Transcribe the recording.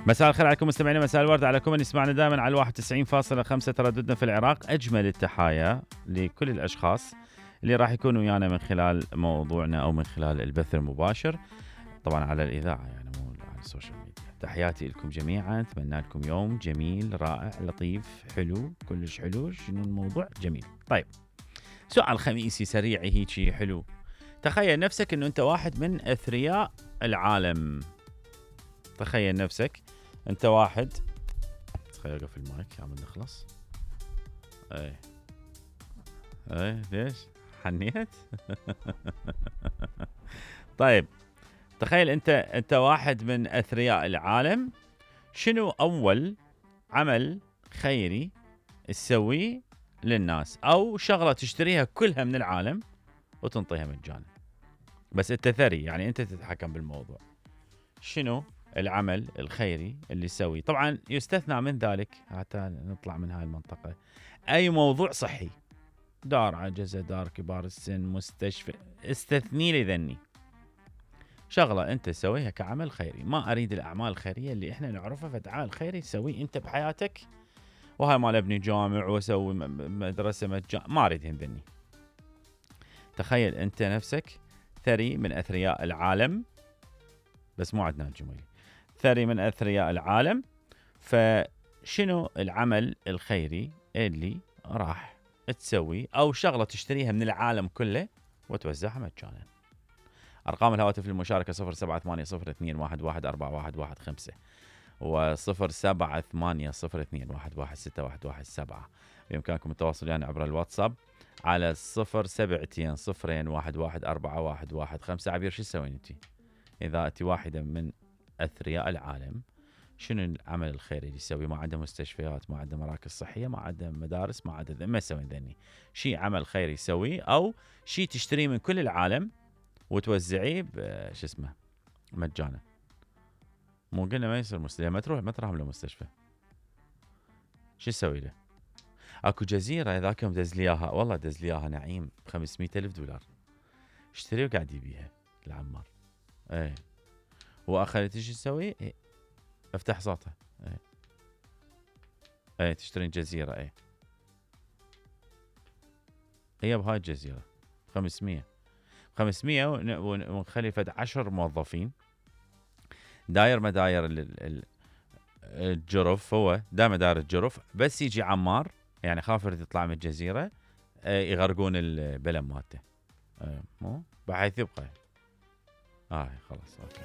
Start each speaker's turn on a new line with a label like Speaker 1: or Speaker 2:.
Speaker 1: مساء الخير عليكم مستمعينا، مساء الورد عليكم من يسمعنا دائما على 91.5 ترددنا في العراق. أجمل التحايا لكل الأشخاص اللي راح يكونوا ويانا من خلال موضوعنا أو من خلال البث المباشر، طبعا على الإذاعة يعني مو على السوشيال ميديا. تحياتي لكم جميعا، أتمنى لكم يوم جميل رائع لطيف حلو كلش حلو. شنو الموضوع؟ جميل. طيب، سؤال خميسي سريع هيجي حلو. تخيل نفسك انه انت واحد من اثرياء العالم. تخيل نفسك انت واحد، تخيل اقفل المايك عم نخلص. اي ليش حنيت؟ طيب، تخيل انت واحد من اثرياء العالم. شنو اول عمل خيري تسويه للناس، او شغله تشتريها كلها من العالم وتنطيها مجانا؟ بس انت ثري، يعني انت تتحكم بالموضوع. شنو العمل الخيري اللي يسوي؟ طبعا يستثنى من ذلك حتى نطلع من هاي المنطقة اي موضوع صحي، دار عجزة، دار كبار السن، مستشفى، استثني لي ذني شغلة انت تسويها كعمل خيري. ما اريد الاعمال الخيرية اللي احنا نعرفها، فتعال خيري تسوي انت بحياتك، وهاي مال ابني جامع واسوي مدرسة مجانا، ما اريدهن ذني. تخيل انت نفسك ثري من اثرياء العالم، بس مو عدنان الجميلي، ثري من اثرياء العالم. فشنو العمل الخيري اللي راح تسوي، او شغله تشتريها من العالم كله وتوزعها مجانا؟ ارقام الهواتف للمشاركه 078021141115 و 0780211617. بامكانكم التواصل يعني عبر الواتساب على 072021141115. عبير، شو تسوين انت اذا انت واحده من اثرياء العالم؟ شنو العمل الخيري اللي يسوي؟ ما عنده مستشفيات، ما عنده مراكز صحيه، ما عنده مدارس، ما عنده ما يسوي ذني شيء عمل خيري يسويه، او شيء تشتريه من كل العالم وتوزعيه شو اسمه مجانا. مو قلنا ما يصير مستشفى، ما تروح له مستشفى، شو تسوي له؟ اكو جزيره ذاك يوم دز لي اياها، والله دز لي اياها نعيم $500,000، اشتري وقاعد يبيها العمار. ايه واخذت ايش تسوي؟ إيه. افتح صوتها. ايه تشترين جزيره. هي بهاي الجزيره 500 ونخلي فد 10 موظفين، داير مداير الجرف، هو دائما داير الجرف، بس يجي عمار يعني خاف يريد يطلع من الجزيره يغرقون البلم مالته، مو بحيث يبقى. خلاص اوكي.